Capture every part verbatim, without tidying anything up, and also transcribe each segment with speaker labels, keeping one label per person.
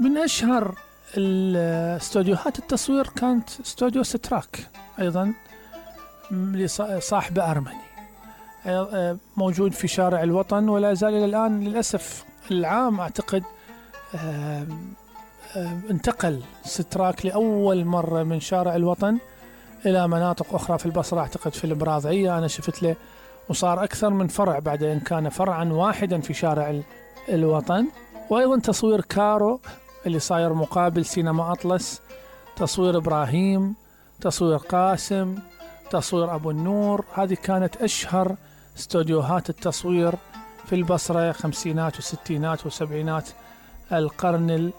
Speaker 1: من أشهر الاستوديوهات التصوير كانت استوديو ستراك، أيضا لصاحبه أرمني، موجود في شارع الوطن ولا زال إلى الآن للأسف العام أعتقد انتقل ستراك لأول مرة من شارع الوطن إلى مناطق أخرى في البصرة، أعتقد في البراضعية أنا شفت له، وصار أكثر من فرع بعد إن كان فرعا واحدا في شارع الوطن. وأيضا تصوير كارو اللي صاير مقابل سينما أطلس، تصوير إبراهيم، تصوير قاسم، تصوير أبو النور. هذه كانت أشهر استوديوهات التصوير في البصرة خمسينات وستينات وسبعينات القرن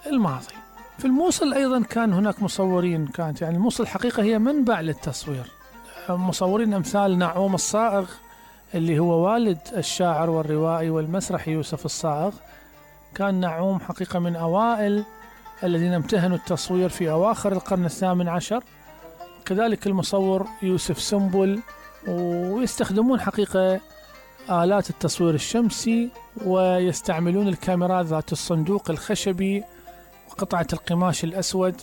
Speaker 1: الماضي. في الموصل أيضا كان هناك مصورين، كانت يعني الموصل حقيقة هي منبع للتصوير، مصورين أمثال نعوم الصائغ اللي هو والد الشاعر والروائي والمسرحي يوسف الصائغ. كان نعوم حقيقة من أوائل الذين امتهنوا التصوير في أواخر القرن الثامن عشر، كذلك المصور يوسف سنبل، ويستخدمون حقيقة آلات التصوير الشمسي، ويستعملون الكاميرات ذات الصندوق الخشبي وقطعة القماش الأسود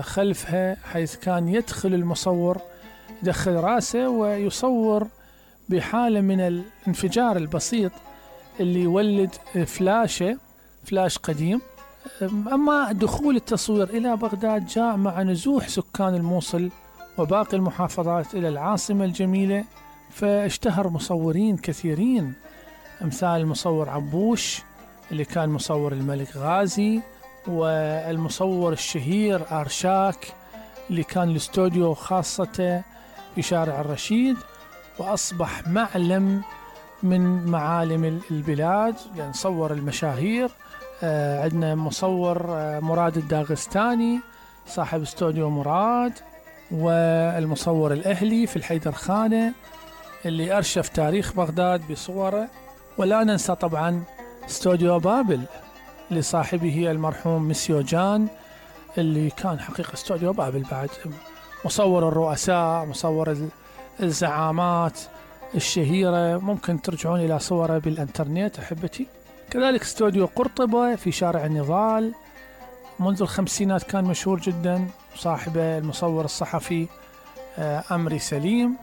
Speaker 1: خلفها، حيث كان يدخل المصور يدخل راسه ويصور بحالة من الانفجار البسيط اللي يولد فلاشة فلاش قديم. أما دخول التصوير إلى بغداد جاء مع نزوح سكان الموصل وباقي المحافظات إلى العاصمة الجميلة، فاشتهر مصورين كثيرين أمثال المصور عبوش اللي كان مصور الملك غازي، والمصور الشهير أرشاك اللي كان الاستوديو خاصته في شارع الرشيد، وأصبح معلم من معالم البلاد يعني صور المشاهير. آه عندنا مصور آه مراد الداغستاني صاحب استوديو مراد، والمصور الأهلي في الحيدر خانة اللي أرشف تاريخ بغداد بصوره. ولا ننسى طبعا استوديو بابل لصاحبه المرحوم مسيو جان اللي كان حقيقة استوديو بابل بعد مصور الرؤساء، مصور الزعامات الشهيرة، ممكن ترجعون إلى صوره بالإنترنت أحبتي. كذلك استوديو قرطبة في شارع النضال منذ الخمسينات كان مشهور جدا، صاحبه المصور الصحفي أمري سليم،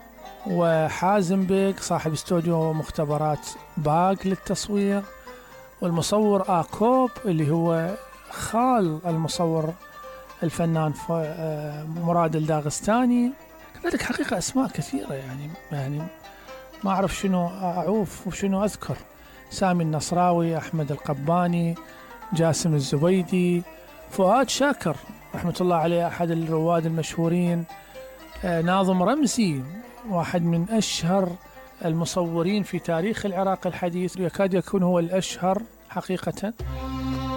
Speaker 1: وحازم بيك صاحب استوديو مختبرات باق للتصوير، والمصور آكوب اللي هو خال المصور الفنان مراد الداغستاني. كذلك حقيقة أسماء كثيرة يعني يعني ما أعرف شنو أعوف وشنو أذكر، سامي النصراوي، أحمد القباني، جاسم الزبيدي، فؤاد شاكر رحمة الله عليه أحد الرواد المشهورين، ناظم رمزي واحد من أشهر المصورين في تاريخ العراق الحديث، يكاد يكون هو الأشهر حقيقة.